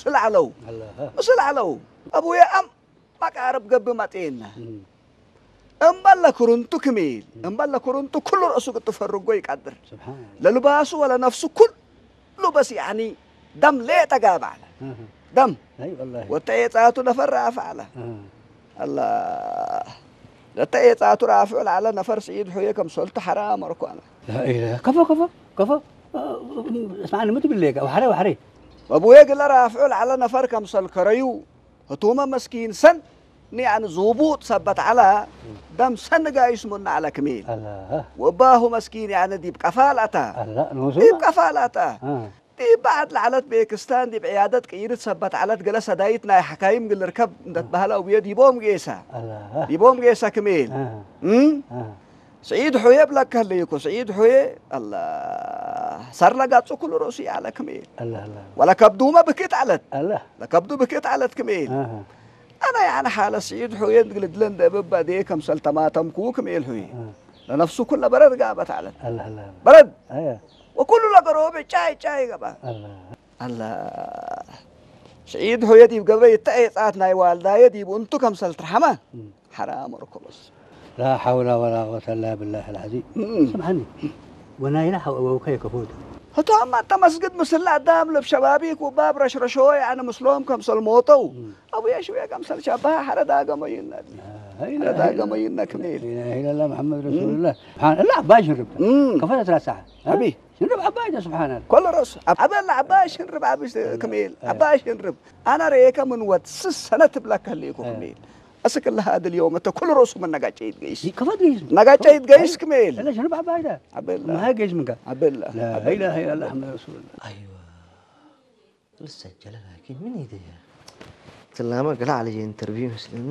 ስለ ዓለው ኣላህ ምስል ዓለው ኣቡየ ኣም ማቃረብ ገብ ማጤና እምበለ ክሩንቱ ክሜል እምበለ ክሩንቱ ኩሉ ርእሱ ክትፈርጎ ይቃድር ስብሓን ለልባሱ ወለ ነፍሱ ኩሉ በስ ያኒ ደም ሌጠ ጋብ ዓለ ደም ኣይ ወላሂ ወተየጻቱ ነፈር ራፍ ዓለ ኣላ ለተየጻቱ ራፍዑ ለዓለ ነፈር ስዒድ ሑየ ከም ሰልቱ ሓራ መርኳነ ላኢላ ከፎ ከፎ ከፎ እስማዕኒ ምትብል ሌጋ ዋሕረ ዋሕረ መብዌ ግለ ራፍዑ ለዓለ ነፈር ከም ሰልከረዩ ህቱመ መስኪን ሰን ንያኒ ዝውቡጥ ሰበት ዓላ ደም ሰን ጋይስ ሙና ዓለ ክሜል ኣላ ወባሁ መስኪን ያኒ ዲብ ቀፋል ኣታ ኣላ ንሱ ዲብ ቀፋል ኣታ አ ዲብ በዓድ ለዓለት ቤክስታን ዲብ ዕያደት ቅይርት ሰበት ዓለት ገለ ሰዳይት ናይ ሓካይም ግል ርከብ እንደትበህለ ውየ ዲቦም ጌሳ ኣላ ዲቦም ጌሳ ክሜል አ እም? አ ስዒድ ሑየ ብለካ ህለይኮ ስዒድ ሑየ ኣላ ሰርለ ጋጹ ኩሉ ርእሱ ያለ ክሜል ኣላ ኣላ ወላ ከብዱመ ብክት ዓለት ኣላ ለከብዱ ብክት ዓለት ክሜል አ ኣነ ያነ ሓለ ስዒድ ሑየ ግልድለ እንደብባ ዴ ከምሰል ተማተምኩ ክሜል ሑየ አ ለነፍሱ ኩለ በረድ ጋበት ዓለት ኣላ ኣላ በረድ ኣያ ወኩሉ ለገሮ ብጫይ ጫይ ገባ ኣላ ኣላ ስዒድ ሑየ ዲብ ገበ ይተአየጻት ናይ ዋልዳየ ዲብ እንቱ ከምሰል ትርሓማ ሓራም ርኩብስ لا حول ولا قوة إلا بالله العظيم እም። سمعني ونايلا حوكا يكفوت ህቶም ኣተ መስግድ ምስላ ኣዳም ልብ ሸባቢክ ውባብ ረሽረሾ ያነ ምስሎም ከምሰል ሞተው ኣቡ የሽውየ ከምሰል ሸባህ ሓረ ዳገመ ይነድ لا إله ሓረ إلا ዳገመ ይነ ክሜል لا إله إلا الله محمد رسول الله سبحان الله عباش نربت እም። كفوت ثلاث ساعة أبي. نرب عباش سبحان الله ኮለ ርእሱ ኣብ ዓበላ ዓባይ ሽንርብ ዓብሽ ክሜል ዓባይ ሽንርብ ኣነ ርእየከ ምን ወድ ስስ ሰነ ትብለካ ህልይኩ ክሜል እስክ ለሃ ድል ዮም እተ ኩሉ ርእሱ ምን ነጋጨ ይትገይስ كفوت جيز ነጋጨ ይትገይስ ክሜል لا شنو بعبايدا ዓበላ ما هي جيز منك ዓበላ لا إله إلا الله محمد رسول الله ኣይዋ ልሰጀለ ላኪን ምን ይደያ ትላመ ገላ ዓለየ ኢንተርቪው ይመስለኒ